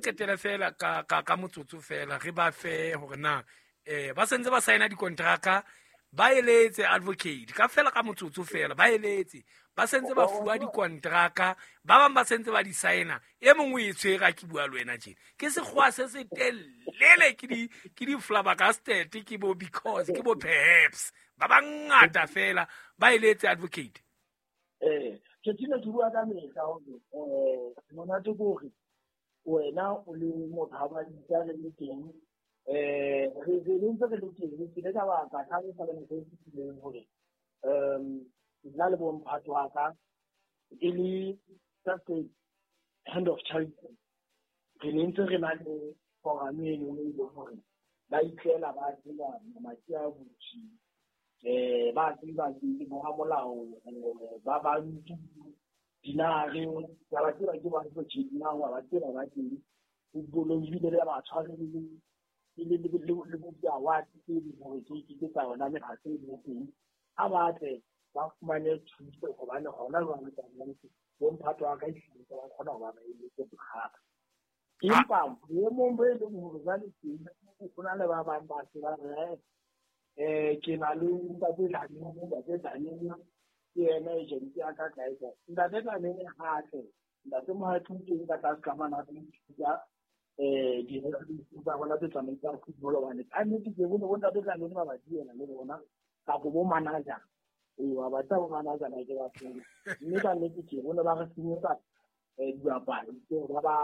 qetele fela ka motsotso fela, re ba fe hore na ba sentse ba saena dikontraka, ba eletse advocate ka fela ka motsotso fela, ba eletse ba sentse ba fuwa dikontraka, ba bang ba sentse ba di saena, e mongwe e tshwere a ke bua le wena tjena ke sekgowa se se telele, ke di flabbergasted, ke bo because, ke bo perhaps, ba bangata fela ba eletse advocate. Ke tshine ke bua ka mehla hore monate ke hore wena o le motho ha ba ditsa re le teng, re ntse re le teng, ke le ka baka ka re sa le nako e fetileng hore nna le bomphato wa ka e le just a hand of charity, re ne ntse re na le forum e leng e leng hore ba itlela ba tseba mamati a butsi, ba tseba ke boramolao, ba bantu dinare, ba tseba ke ba tjena, ba tseba ba teng footballong, ebile le ba tshware le bo di-award tse leng hore ke tsa yona mekgatlo e leng teng, ha ba tle ba fumane thuso hobane hona jwale ka nnete bomphato wa ka ehlile ba kgona ho ba ba eletse bothata. Empa boemong bo e leng hore jwale teng ho na le ba bang ba se ba re, ke na le ntate Dlamini, ntate Dlamini ke yena agent ya ka kae kae. Ntate Dlamini ha tle, ntate Mohapi o teng ka tlase ka mane a tlo ithuta di tsa rona tse tsamaisang football, hobane ka nnete ke bone bo ntate Dlamini ba ba diela le bona kapo bo manager. Wa ba tseba bo manager ba ke ba tsebe. Mme ka nnete ke bone ba re senyetsa dibapadi tseo ba ba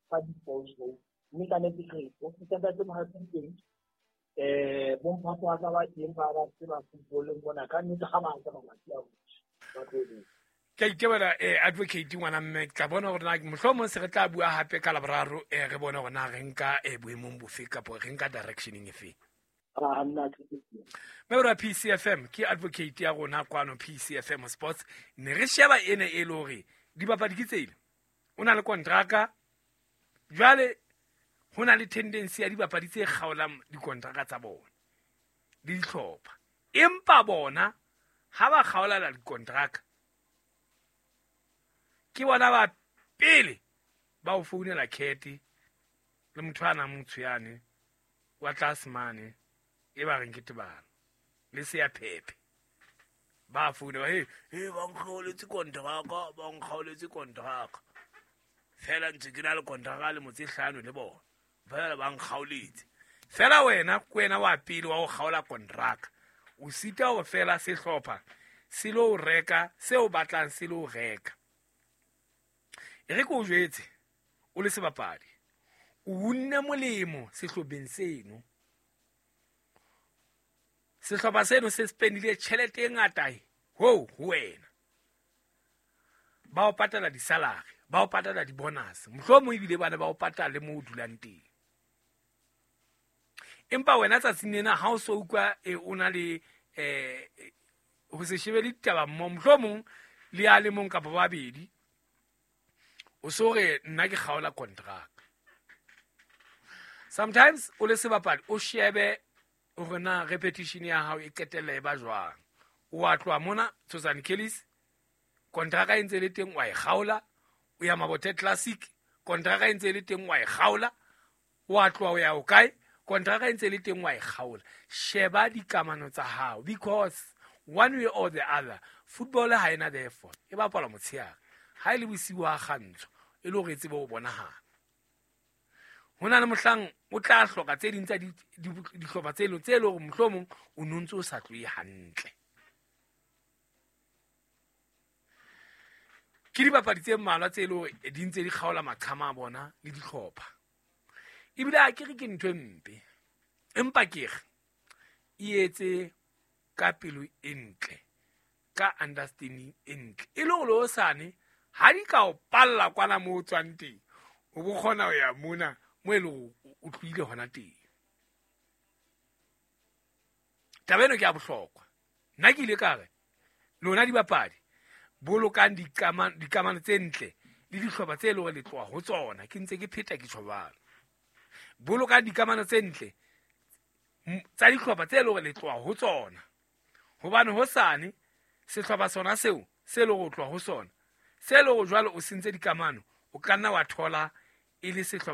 fa di-sponsor. Mme ka nnete ke re ntate Mohapi teng, bomphato wa ka ba teng ba ba tseba footballeng mona, ka nnete ha ba tle mamati a butse ba tlo botsa. Ke a itebela advocate ngwana mme, ke tla bona hore na mohlomong se re tla bua hape ka Laboraro, re bone hore na re nka boemong bofe kapo re nka directioneng efe. Mme PCFM ke advocate ya rona kwano PCFM Sports, ne re sheba ene e le hore dibapadi ke tsele o na le kontraka, jwale ho na le tendency ya dibapadi tse kgaolang dikontraka tsa bona le dihlopha, empa bona ha ba kgaolana dikontraka ke bona ba pele ba o founela Kete le motho a nang motho yane wa tlase mane e ba reng ke Tebalo le se ya Phephe, ba founa ba he ba nkgaoletse kontraka, ba nkgaoletse kontraka fela ntse ke na le kontraka le motse 5 le bona fela ba nkgaoletse fela. Wena ke wena wa pele wa ho kgaola kontraka, o sita ho fela sehlopha se lo reka seo batlang se lo reka. E re ke o jwetse o le sebapadi, o unne molemo sehlopheng seno, sehlopha seno se spendile tjhelete e ngata ho wena, ba o patala di-salary, ba o patala di-bonus, mohlomong ebile bana ba o patala le moo o dulang teng. Empa wena tsatsing lena ha o so utlwa o na le ho se shebe le ditaba mmoho, mohlomong le a le mong kapa ba babedi, o so re nna ke kgaola contract. Sometimes o le sebapadi o shebe hore na repetition ya hao e qetella e ba jwang. O a tloha mona Tshosane Kellis, kontraka e ntse le teng wa e kgaola, o ya Mabothe Classic, kontraka e ntse le teng wa e kgaola, o a tloha o ya o kae, kontraka e ntse le teng wa e kgaola. Sheba dikamano tsa hao, because one way or the other football ha ena therefore e bapalwa motshehare, ha e le bosiu ha kgantsho e le hore e tsebe ho bonahala. Ho na le mohlang o tla hloka tse ding tsa dihlopha tse leng tse leng hore mohlomong o no ntse o sa tlohe hantle. Ke dibapadi tse mmalwa tse leng hore di ntse di kgaola maqhama a bona le dihlopha. Ebile ha ke re ke ntho e mpe, empa ke re e etse ka pelo e ntle, ka understanding e ntle, e le hore hosane ha di ka o palla kwana moo o tswang teng, o bo kgona ho ya mona mo e leng hore o tlohile hona teng. Taba eno ke ya bohlokwa. Nna ke ile ka re lona dibapadi bolokang dikamano tse ntle le dihlopha tse leng hore le tloha ho tsona. Ke ntse ke pheta ke tjho jwalo. Bolokang dikamano tse ntle tsa dihlopha tse leng hore le tloha ho tsona, hobane hosane sehlopha sona seo se leng hore o tloha ho sona, se leng hore jwale o sentse dikamano, o ka nna wa thola e le sehlopha